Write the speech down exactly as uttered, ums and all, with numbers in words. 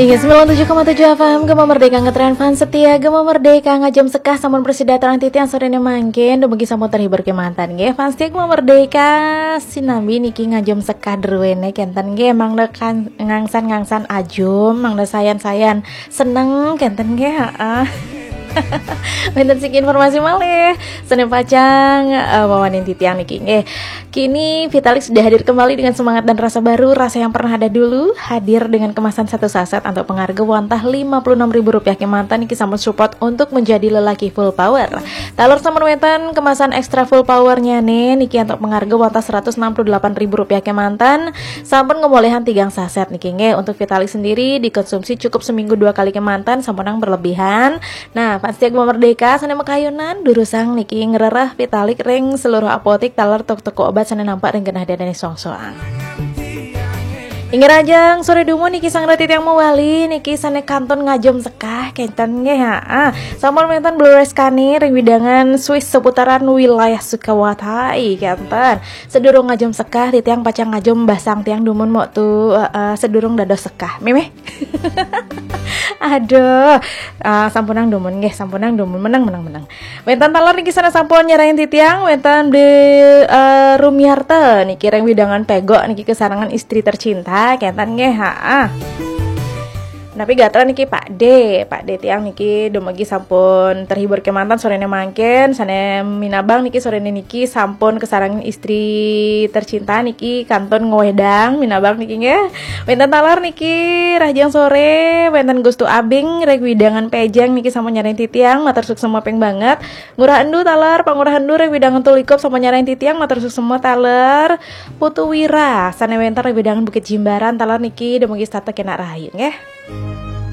Inggih, sembilan tujuh koma tujuh F M, Gema Merdeka ngetren fans setia, Gema Merdeka ngajum sekah sampun prasida titiang sorene mangkin, dumugi sampun terhibur kemanten nggih. Fans setia Gema Merdeka, sinambi niki ngajum sekah druene kenten nggih, mangda kan ngangsan-ngangsan ajum, mangda sayan-sayan seneng kenten nggih, heeh. Wenten siki informasi malih, sane pacang, eh, wawanin titiang niki nggih. Kini Vitalik sudah hadir kembali dengan semangat dan rasa baru, rasa yang pernah ada dulu, hadir dengan kemasan satu saset antuk pangarga wantah lima puluh enam ribu rupiah kemanten niki sampun support untuk menjadi lelaki full power. Taler sampun wenten kemasan ekstra full power-nyane niki antuk pangarga wantah seratus enam puluh delapan ribu rupiah kemanten, sampun ngolehan tigang saset niki nggih. Untuk Vitalik sendiri dikonsumsi cukup seminggu dua kali kemanten, sampunang berlebihan. Nah, fans setia Gema Merdeka sane makayunan durusang niki ngrereh Vitalik ring seluruh apotik taler toko-toko obat sane nampak ring genah dene songsoang. Inggih rahajeng sore dumun niki sareng titiang mawali niki sane kantun ngajum sekah kenten nggih, ha. Sampun wenten blureskane ring wewidangan Swiss seputaran wilayah Sukawati kenten. Sedurung ngajum sekah titiang pacang ngajum basang tiang dumun mok tu, eh, eh, sedurung dados sekah. Mimih. Aduh, eh, sampunang dumun nggih, sampunang dumun, meneng, meneng, meneng. Wenten taler niki sane sampun nyarengin titiang, wenten Bli, eh, Rumiarta niki ring wewidangan Pegok niki kesarengan istri tercinta kenten nggih, ha. Napi gatra niki Pak D, Pak D tiang niki dumugi sampun terhibur kemanten sorene mangkin, sane minabang niki sorene niki sampun kesarengan istri tercinta niki kantun ngwedang minabang niki nggih. Wenten taler niki rahajeng sore, wenten Gustu Abing ring wewidangan Pejeng niki sampun nyarengin titiang, matur suksma ping banget. Ngurah Endu taler, Pangurah Endu ring wewidangan Tulikup sampun nyarengin titiang, matur suksma taler. Putu Wira sane wenten ring wewidangan Bukit Jimbaran taler niki dumugi setata kenak rahayu nggih.